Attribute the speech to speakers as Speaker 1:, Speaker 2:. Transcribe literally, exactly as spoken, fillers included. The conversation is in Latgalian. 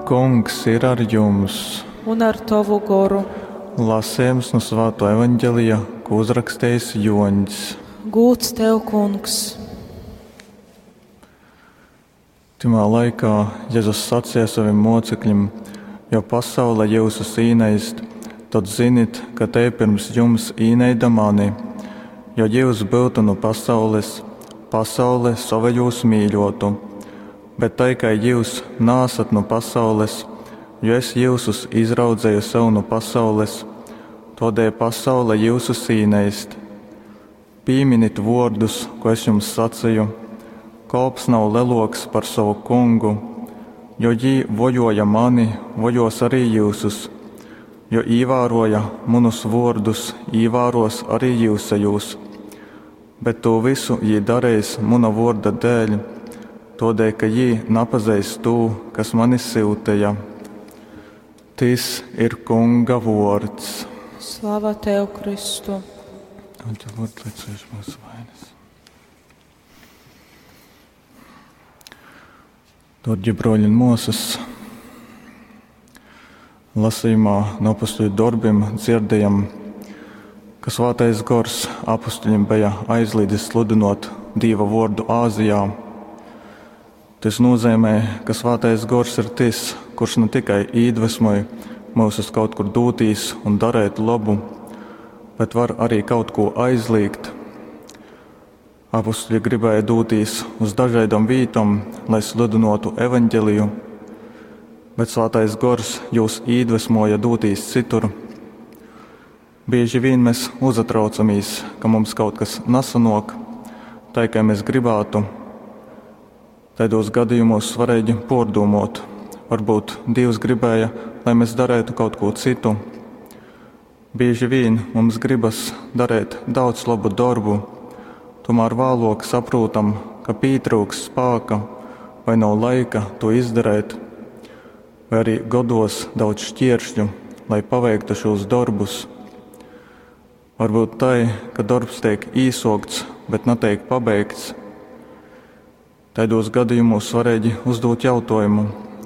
Speaker 1: Kungs ir ar jums!
Speaker 2: Un ar tovu goru.
Speaker 1: Lasījums no Svāto evaņģelija, ko uzrakstījis Joņs.
Speaker 2: Gūds tev, Kungs!
Speaker 1: Timā laikā Jēzus sacīja saviem mocekļiem: Jo pasaule jyusus īneist, tad zinit, ka te pirms jums īneida mani. Jo jūs būtu no pasaules, pasaule savējūs mīļotu. Bet tai, kā jūs nāsat no pasaules, jo es jyusus izraudzēju sev no pasaules, todēļ pasaule jyusus īneist. Pīminit vōrdus, ko es jums sacīju: kolps nav leloks par savu kungu, jo jī vojoja mani, vojos arī jyusus, jo īvēroja munus vōrdus, īvēros arī jyusejūs. Bet to visu jī dareis muna vōrda dēļ, todēļ, ka jī napazeist tū, kas mani syuteja. Tys ir Kunga vōrds.
Speaker 2: Slava tev, Kristu!
Speaker 1: Dārgie broļi un māsas, lasījumā no apustuļu darbiem dzirdējam, ka Svētais Gors apustuļiem bija aizliedzis sludinot Dieva vārdu Āzijā. Tas nozīmē, ka Svētais Gors ir tas, kurš ne tikai iedvesmoja mūs uz kaut kur dūtīs un darēt labu, bet var arī kaut ko aizliegt. Apustuļi gribēja dūtīs uz dažādām vītom, lai sludinotu evaņģeliju, bet Svētais Gors jūs iedvesmoja dūtīs citur. Bieži vien mēs uzatraucamies, ka mums kaut kas nesanok, tai, kā mēs gribētu. Tādos gadījumos svarīgi pārdomot, varbūt Dievs gribēja, lai mēs darētu kaut ko citu. Bieži vien mums gribas darīt daudz labu darbu, tomēr vēlāk saprotam, ka pietrūks spēka vai nav laika to izdarīt, vai arī godos daudz šķēršļu, lai paveiktu šos darbus. Varbūt tai, ka darbs tiek īsokts, bet netiek pabeigts. Tādos gadījumos svarīgi uzdot jautājumu,